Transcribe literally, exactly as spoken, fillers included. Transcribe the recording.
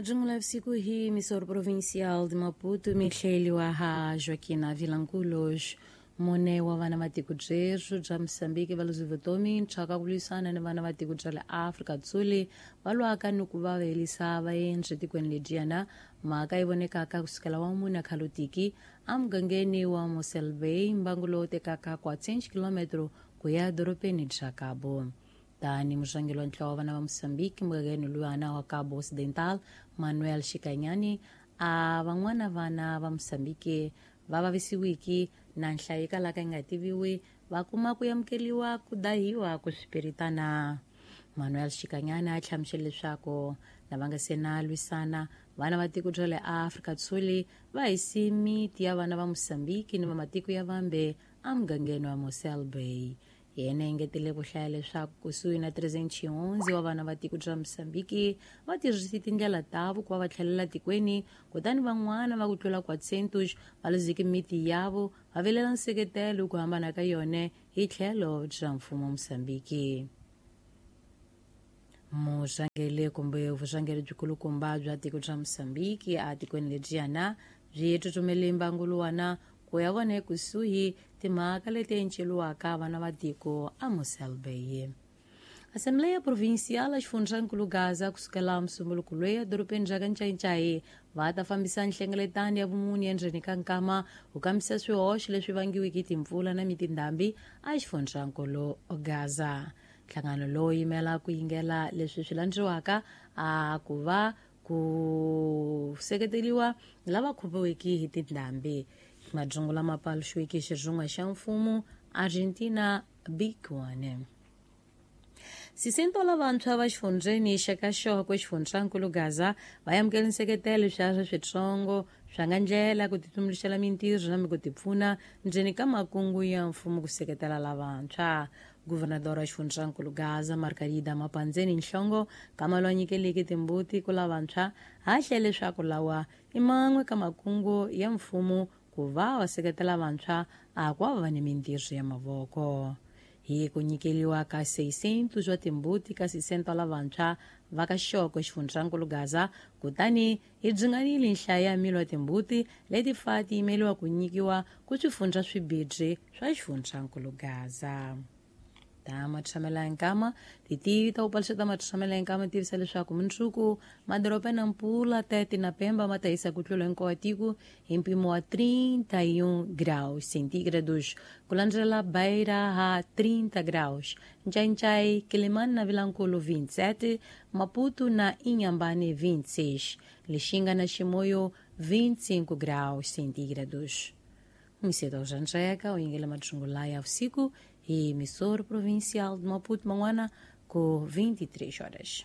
Majungula usiku hii misoro provincial de Maputo mihleliwa ha Joaquina Vilanculos mune wa vana va tiko byerhu bya Mozambique va luzi vutomi ntshaka ku lwisana ni vana va tiko bya le Afrika Dzuli va lwaka ni ku va helisa vaendzi tikweni ledyiyana. Mhaka yi vonekaka kusukela wa mune khalotiki emugangeni wa Mossel Bay, mbangu lowu tekaka quatrocentos kilometro ku ya edorobeni bya Cabo. Tani murhangeri wa ntlawa wa vana va Mozambique mugangeni luyana wa Cabo Occidental, Manuel Xikanyani, a van'wana vana va Mozambique va vavisiwiki na nhlayo yi kalaka yi nga tiviwi va kuma ku amukeriwa ku dahiwa ku swipiritana. Manuel Xikanyani a hlamusele leswaku lava nga se na lwisana vana va tiko bya le Afrika Dzuli va hisi miti ya vana va Mozambique ni va matiko ya vambe emugangeni wa Mossel Bay. Yena engetele ku hlaya leswaku kusuhi na trezentos e onze wa vana va tiko bya Mozambique va tirhise tindlela tavo ku va va tlhelela tikweni, kutani van'wana va ku tlula quatrocentos va luzeke miti yavo va vilela nseketelo ku hambana ka yona hi tlhelo bya mfumo wa Mozambique. Murhangeri kumbe vurhangeri byikulukumba bya tiko bya Mozambique etikweni ledyiyana byi tsutsumele mbangu luwana ku ya vona ekusuhi timhaka leti enceriwaka vana va tiko a Mossel Bay. Assembleia Provincial xifundzankulu Gaza kusukela musumbuluko loyi edorobeni ra ka Ncayicayi va ta fambisa nhlengeletano ya vumune endzeni ka nkama ku kambisisa swihoxo leswi vangiweke hi timpfula na mitindhambi a xifundzankulu Gaza. Nhlangano lowu yimela ku yingela leswi swi landziwaka a ku va ku seketeriwa lava khumbiweke hi tindhambi. Majungu lama paluxiweke xirhunga xa mfumo Argentina Big One. Sisento lavantshwa va xifundzeni xa ka Xokwe xifundzankulu Gaza va amukele nseketelo swa switsongo swa nga ndlela ku titumbuluxela mintirho na ku tipfuna ndzeni ka makungu ya mfumo ku seketela lavantshwa. Guvernador wa xifundzankulu Gaza Margarida Mapandzeni Nhlongo kama loyi a nyikeleke timbuti ku lavantshwa ha hlele leswaku lawa i man'we ka makungu ya mfumo ku va va seketela vantshwa a ku va ni mintirho ya mavoko. Hi ku nyikeriwa ka seiscentos wa timbuti ka sisento lavantshwa va ka Xokwe xifundzankulu Gaza, kutani hi byi nhlayo ya milo ya timbuti leti fa ti yimeriwa ku nyikiwa ku swifundza swibirhi swa xifundzankulu Gaza. Ta matshamela nkama titivi ta ku paluxa ta matshamela nkama tivisa leswaku mundzuku madoroba na Mpula, Tete na Pemba ma ta hisa ku tlula hinkwawo tiko hi mpimo wa trinta e um graus centígrados, ku landzela Beira ha trinta graus, Ncainchai, Quelimane na Vilankulo vinte e sete, Maputo na Inhambane vinte e seis, Lixinga na Chimoio vinte e cinco graus centígrados. Mseto Janjeka, o Ingela Matshungulaya usiku e emissor provincial de Maputo, Manguana, com vinte e três horas.